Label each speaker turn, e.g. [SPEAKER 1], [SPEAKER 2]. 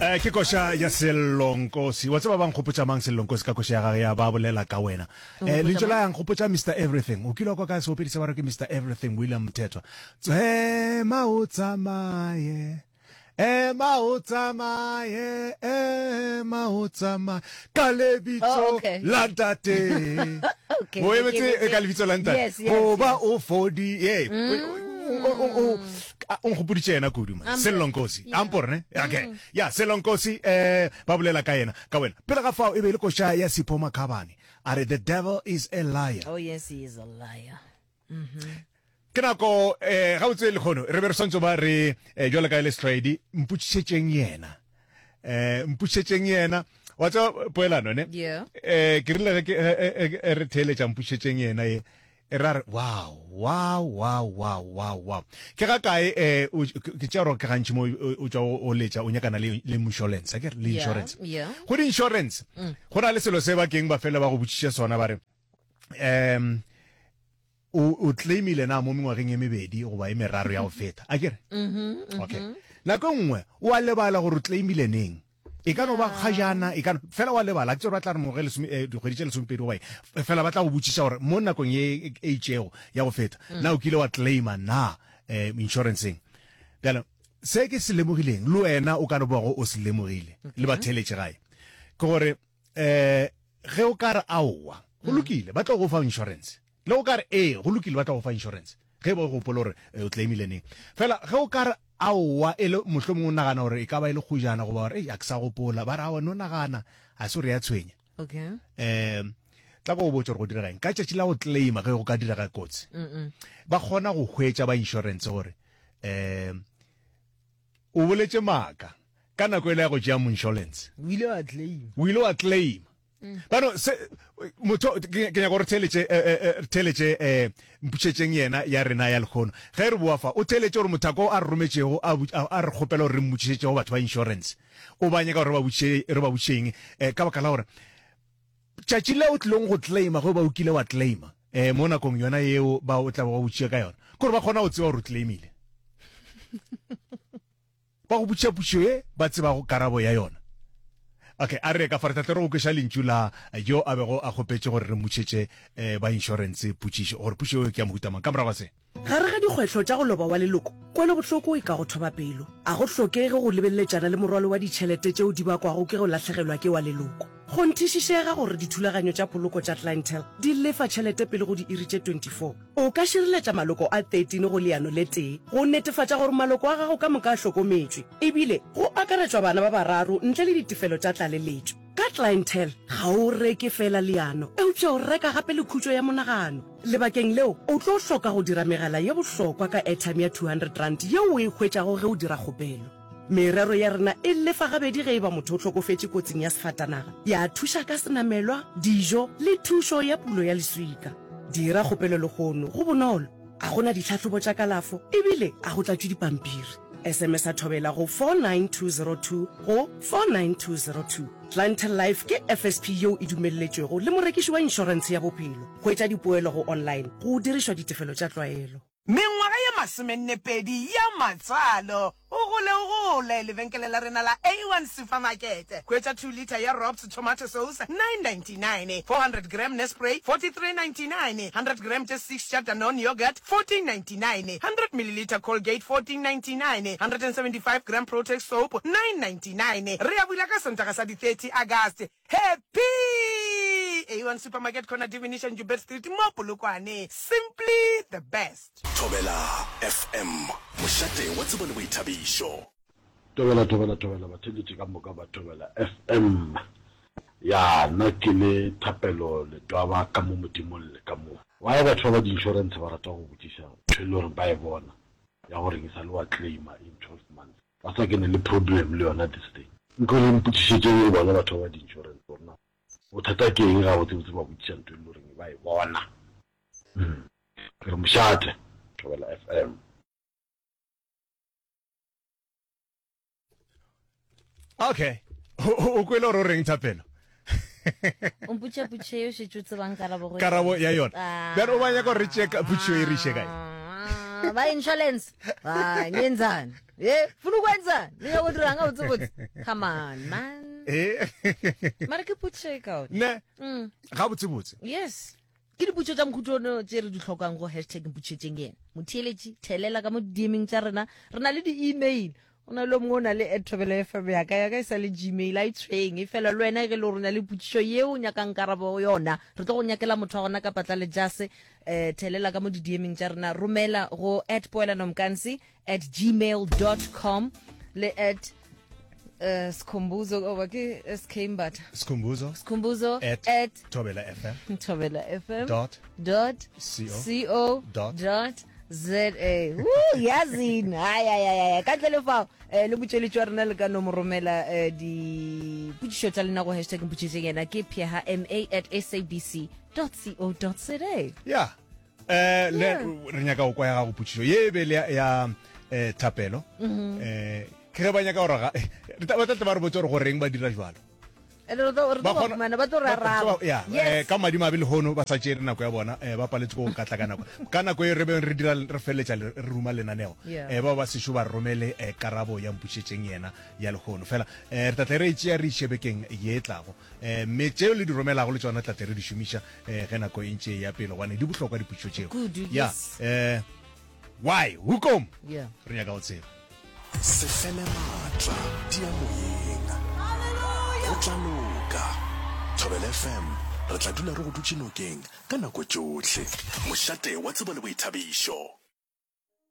[SPEAKER 1] Eh, ke koša ya Sellonkosi. Wa tseba ba nkgopotša mang Sellonkosi ka koša ya gage ya ba bolela ka wena. Eh, lentšu la ya nkgopotša Mr Everything. O kile wa kwa ka seopedi se ba re ke Mr Everything William Mthethwa. Tswema o tsamaye. Ema o tsamaye, ema o tsamaye ka lebitso
[SPEAKER 2] Oh, okay.
[SPEAKER 1] la ntate.
[SPEAKER 2] Okay,
[SPEAKER 1] O
[SPEAKER 2] ke
[SPEAKER 1] emetse
[SPEAKER 2] emetse.
[SPEAKER 1] ka lebitso la ntate.
[SPEAKER 2] Yes, yes,
[SPEAKER 1] Goba
[SPEAKER 2] yes.
[SPEAKER 1] o fodi. Ee. O o o o nkgopoditše yena kudu man.
[SPEAKER 2] Ampo.
[SPEAKER 1] Sello Nkosi.
[SPEAKER 2] Yeah.
[SPEAKER 1] Ampo ne? Okay. Ya Sello Nkosi eh ba bolela ka yena ka wena. Pele ga fao e be e le koša ya Sipho Makhabane. A re the devil is a liar.
[SPEAKER 2] Oh yes, he is a liar.
[SPEAKER 1] Ke nako eh gabotse lekgono re be re swantse ba re eh, jwalo ka e le setlwaedi mpotšišetšeng yena. Eh mpotšišetšeng yena. Wa tseba poelano ne?
[SPEAKER 2] Yeah.
[SPEAKER 1] Eh ke rile ge ke eh, eh, re theeletša mpotšišetšeng yena ye e ra re wow wow wow wow wow wow ke ga kae eh o ke tšea gore ke gantši mo o tšwa o letša o nyakana le le insurance akere le insurance
[SPEAKER 2] yeah.
[SPEAKER 1] go di insurance go na le selo se ba keng ba fela ba go botšiša sona ba re um o o claimile na mo mengwageng e mebedi goba e meraro ya go feta akere okay nako e nngwe o a lebala gore o claimile neng E ka no ba kgajana, e ka no, fela wa lebala, ke tsebe ba tla re moge lesome, eh, dikgwedi tše lesomepedi goba eng, fela ba tla go botšiša gore mo nakong ye e itšego ya go feta, na o kile wa claima na eh, insurance-eng. Bjale, se ke se lemogileng, le wena o ka no bago o se lemogile, le batheeletši gae, ke gore eh, ge o ka re aowa, go lokile, ba tlo go fa insurance. Le go ka re ee, go lokile, ba tla go fa insurance ge e ba o gopola gore eh, o claimile neng. Fela ge o ka re aowa, e le mohlomongwe o nagana gore e ka ba e le kgojana goba gore ei a ke sa gopola, ba re aowa no nagana, a se gore ya tshwenya.
[SPEAKER 2] Okay.
[SPEAKER 1] Um tla ko go botša gore go direga eng ka tšatši la go claima ge go ka direga kotsi. Ba kgona go hwetša ba insurance gore um o boletše maaka ka nako e le ya go tšea insurance.
[SPEAKER 3] O ile wa claim.
[SPEAKER 1] O ile wa claim. Bano se motho ke nyaka gore theletše eh, eh, eh, theletše eh mpušetšeng yena ya rena ya lekgono. Ge re boa fa o theletše gore mothako a re rometšego a a re kgopela gore re mmotšišetše go batho ba insurance. O ba nyaka gore re ba botšiše re ba botšišeng eh, ka baka la gore tšatši le o tlilong go claima ge o ba o kile wa claima eh mo nakong yona yeo ba o tla ba botšiša ka yona ke gore ba kgona go tseba gore o claimile. Ba go botšiša potšišo ye ba tsebago karabo ya yona. Okay, a re ye ka fa, re tla tle re go kweša lentšu la yo a bego a kgopetše gore re mmotšetše ba inšorense potšišo, gore potšišo yeo ke ya mohuta mang. Ka morago ga se.
[SPEAKER 4] Gare ga dikgwetlho tša go loba wa leloko, kwelobohloko e ka go thoba pelo. A go hlokege go lebeleletšana le morwalo wa ditšhelete tšeo di bakwago ke go lahlegelwa ke wa leloko. Kgonthišišega gore dithulaganyo tša poloko tša Clientele di lefa tšhelete pele go diiri tše 24. O ka šireletša maloko a 13 go leano le tee go netefatša gore maloko a gago ka moka a hlokometšwe, ebile go akaretšwa bana ba bararo ntle le ditefelo tša tlaleletšo. Ka Clientele, ga o reke feela leano, eupša o reka gape le khutšo ya monagano. Lebakeng leo, o tlo hloka go dira megala ye bohlokwa ka airtime ya R200 yeo o e hwetšago ge o dira kgopelo. Merero ya rena e lefa gabedi ge e ba motho o hlokofetše kotsing ya sefatanaga, ya thuša ka senamelwa, dijo le thušo ya pulo ya leswika. Dira kgopelo lehono, go bonolo, ga go na ditlhahlobo tša kalafo e bile ga go tlatšwe dipampiri. SMS-a Thobela go 49202 go 49202. Clientele Life ke FSP yeo e dumelletšwego le morekiši wa inšorentshe ya bophelo. Hwetša dipoelo go online go dirišwa ditefelo tša tlwaelo.
[SPEAKER 5] Mengwaga ye masomennepedi ya matswalo. O gole o gole, lebenkele la rena la A1 Supermarket. Hwetša 2 litre ya Robs tomato sauce, 9.99, 400 gram Nespray, 43.99, 100 gram tše six tša Danone yoghurt, 14.99, 100 millilitre Colgate, 14.99, 175 gram Protex soap, 9.99. Re a bula ka Sontaga sa di 30 Agast. Happy! A1 Supermarket corner Divination Joubert Street mo Polokwane. Simply the best.
[SPEAKER 6] Thobela FM, mošate wa tsebo le boithabišo.
[SPEAKER 7] Thobela thobela thobela batheeletši ka moka ba Thobela FM. Ya nna ke le Thapelo Letwaba ka mo Modimong le ka mo. Why batho ba ba di insurance ba rata go botšiša ntho e le gore ba e bona ya gore ke sa le wa claima in 12 months. Ba sa kene le problem le yona this thing. Nko le mpotšišetšeng le bona batho ba ba di insurance gore na bothata ke eng gabotse botse ba botšiša ntho e le goreng ba e bona. Ke re mošate, Thobela FM.
[SPEAKER 1] Okay. O kwele gore o reng Thapelo?
[SPEAKER 2] O mpotša potšišo ye o šetše o tsebang karabo go
[SPEAKER 1] Karabo ya yona.
[SPEAKER 2] Ah.
[SPEAKER 1] Bjale o ba nyaka gore re tšee potšišo e re iše kae?
[SPEAKER 2] Ah, ba insurance ah ngenzani ye funa ukwenzani niya go dirang ga botse botse come on man
[SPEAKER 1] Eh.
[SPEAKER 2] mara ke potšišo e kaone
[SPEAKER 1] Ne.
[SPEAKER 2] Mm.
[SPEAKER 1] Ga botse botse.
[SPEAKER 2] Yes. Ke dipotšo tša mokhutono tše re di hlokang go hashtag mpotšetšeng yena. Motheeletši, thelela ka mo di-DMing tša rena. Re na le di-email. O na le o mongwe o na le at thobela fm ya ka ya ka e sa le gmail a e tshwenye fela le wena ge le gore o na le potšišo yeo o nyakang karabo yona re tlo go nyakela motho wa gona ka patla le jase um thelela ka mo di-dming tša rena romela go at poelanomkansi at gmail dot com le at uh, Skhumbuzo oba ke SK Mbatha
[SPEAKER 1] Skhumbuzo
[SPEAKER 2] Skhumbuzo
[SPEAKER 1] at,
[SPEAKER 2] at
[SPEAKER 1] Thobela FM
[SPEAKER 2] Thobela FM
[SPEAKER 1] dot
[SPEAKER 2] dot
[SPEAKER 1] co,
[SPEAKER 2] co
[SPEAKER 1] dot,
[SPEAKER 2] dot za Woo, yazini hayi hayi hayi ka ntle le fao eh, le motšweletši wa rena le ka no mo romela eh, dipotšišo tša lena go hashtag mpotšišeng yena ke pheha ma at sabc co za
[SPEAKER 1] ya eh le re nyaka go kwa ya gago potšišo ye e be le ya, ya eh, thapelo
[SPEAKER 2] Mhm.
[SPEAKER 1] eh ke ge ba nyaka gore ga re tla- ba tla tle ba re botse gore goreng ba dira jalo
[SPEAKER 2] Re tlo re tlo
[SPEAKER 1] Ba
[SPEAKER 2] ba
[SPEAKER 1] kgona-
[SPEAKER 2] fumana, ba tlo re
[SPEAKER 1] ba-
[SPEAKER 2] araba.
[SPEAKER 1] ba- ya,
[SPEAKER 2] Yes.
[SPEAKER 1] eh, ka madimabe lehono ba sa tšere nako ya bona eh, ba paletse go ka tla ka nako ka nako e re beng re dira re feleletša le- re ruma lenaneo
[SPEAKER 2] Yeah.
[SPEAKER 1] eh, bao ba sešo ba romele eh, karabo ya mpušetšeng yena ya lehono fela eh, re tla tle re e tšea re iše bekeng ye e tlago eh, mme tšeo le di romelago le tšona tla tle re di šomiša eh, ge nako e ntše e ya pele gobane di bohlokwa dipotšišo tšeo
[SPEAKER 2] Kudu,
[SPEAKER 1] ya
[SPEAKER 2] yes.
[SPEAKER 1] eh, why hoekom
[SPEAKER 2] Yeah.
[SPEAKER 1] re nyaka go tseba
[SPEAKER 6] Se fele maatla, tia moyeng. Go tla loka. Thobela FM, re tla dula re go dutše nokeng ka nako tšohle. Mošate wa tsebo le boithabišo.